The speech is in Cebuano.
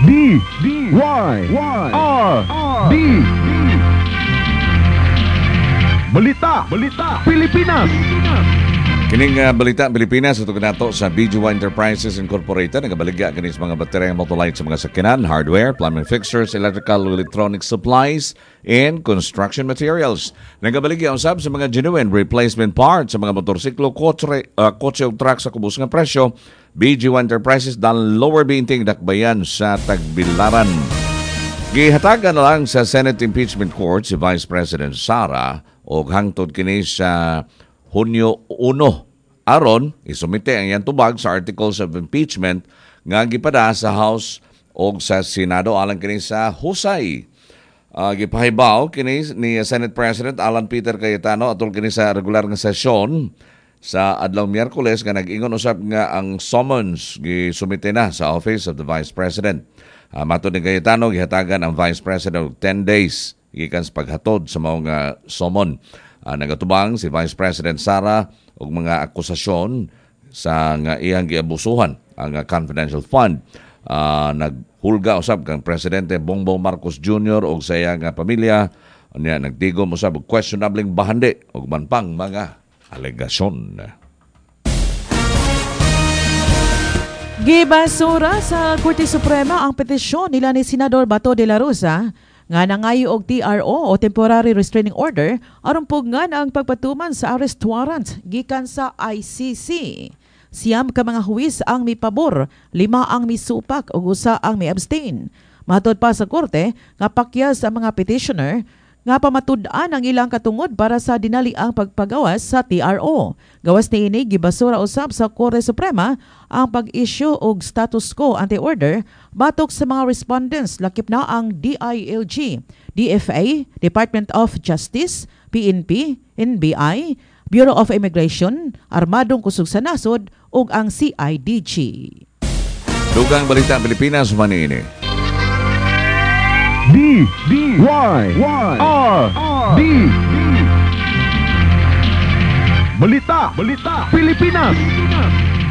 D D Y Y R R D D. Balita, Balita, Pilipinas. Kining Balita Pilipinas ito kanato sa BGY Enterprises Incorporated, nagabaligya kini sa mga baterya, motolight sa mga sakyanan, hardware, plumbing fixtures, electrical, electronic supplies, and construction materials. Nagabaligya usab sa mga genuine replacement parts sa mga motorsiklo, kotse ug truck sa kubos nga presyo. BGY Enterprises, Dan Lower Binting, Dakbayan sa Tagbilaran. Gihatagan na lang sa Senate Impeachment Court si Vice President Sara og hangtod kini sa Hunyo 1 aron isumite ang iyang tubag sa articles of impeachment nga gipada sa House og sa Senado alang kini sa husay. Gipahibaw kini ni Senate President Alan Peter Cayetano atol kini sa regular nga sesyon sa adlaw Miyerkules nga nag-ingon usab nga ang summons gisumite na sa Office of the Vice President. Matod ni Cayetano, gihatagan ang Vice President og 10 days gikan sa paghatod sa maong summon. Nagatubang si Vice President Sara og mga akusasyon sa nga iyang giabusuhan ang confidential fund. Naghulga usab kang Presidente Bongbong Marcos Jr. og sa iyang pamilya niya, nagtigom usab og questionableng bahandi ug uban pang mga alegasyon. Gibasura sa Korte Suprema ang petisyon nila ni Senador Bato de la Rosa nga nangayo og TRO o Temporary Restraining Order aron pugngan ang pagpatuman sa arrest warrant gikan sa ICC. 9 ka mga huwis ang mipabor, 5 ang misupak ug 1 ang mi-abstain. Matod pa sa korte nga pakyas ang mga petitioner nga pamatud-an ang ilang katungod para sa dinaliang pagpagawas sa TRO. Gawas niini, gibasura usab sa Korte Suprema ang pag-issue og status quo ante order batok sa mga respondents lakip na ang DILG, DFA, Department of Justice, PNP, NBI, Bureau of Immigration, Armadong Kusog sa Nasod ug ang CIDG. Dugang Balita Pilipinas maniini. D D Y Y R R D D. Balita, Balita, Pilipinas.